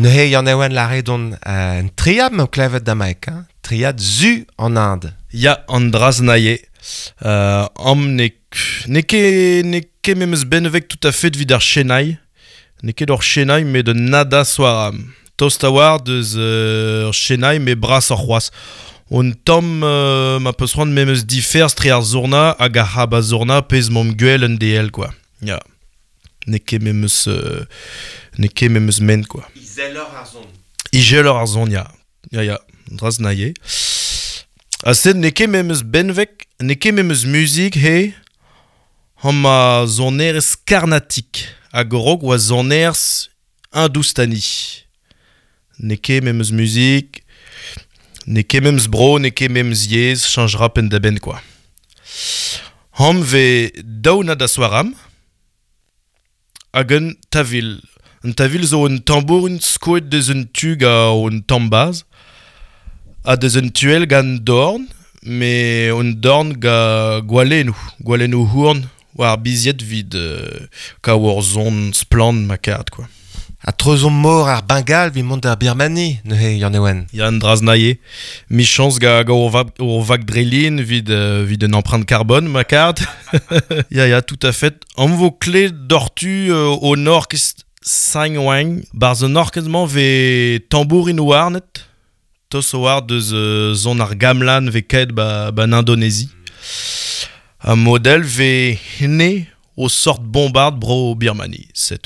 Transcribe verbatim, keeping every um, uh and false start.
Neuze Yann-Ewen lâret on euh, un triad m'o klevet damaek, hein? Triad zu an Inde. Ya, an draz naie. Euh, am ne, ne ket, ne ket memes benveg tout à fait vid ar Chennai. Ne ket ur Chennai, met de nada soaram. Tost a war deus euh, Chennai, me bras ar c'hoaz. On tamm euh, ma peus c'hoant memes diferz tre ar zourna hag ar c'hab a zourna pezh m'om gwell un D L, quoi. Ya. Ne ket memes, euh, ne ket memes men, quoi. Izelor ar zon. Izelor ar zon, ya. Ya, ya. Draz naie. Ha sed ne ket memes benveg, ne ket memes muzik, he, ham a zonerez karnatik, hag rog oa zonerez hindoustani. Ne ket memes muzik, ne ket memes bro, ne ket memes yezh, chanjera penn da benn, quoi. Ham ve daou na da soaram, hag un tavil. Un tavil zo un tambourin skoet deus un tug a un tambaz, ha deus un tuel gant dorn, me un dorn ga gwalennoù, gwalennoù hourn, war biziet vid euh, ka war zon splann ma kart, quoi. Ha treuzon mor ar Bengal vi mont ar Birmanie, neuze Yann-Ewen. Ya, an draz naie. Michans ga, ga ur vag, ur vag drelin vid, euh, vid un empreinte carbone, ma kart. Ya, ya, tout à fait. Am vo kle d'ortu euh, au nord kest Saint-Ouen, barz an orkez-mañ ve tambourin warnet, tos war deus euh, zon ar gamlan ve kaet ba, ba Indonésie. Un modèle ve hne o sort bombarde bro Birmanie, c'est.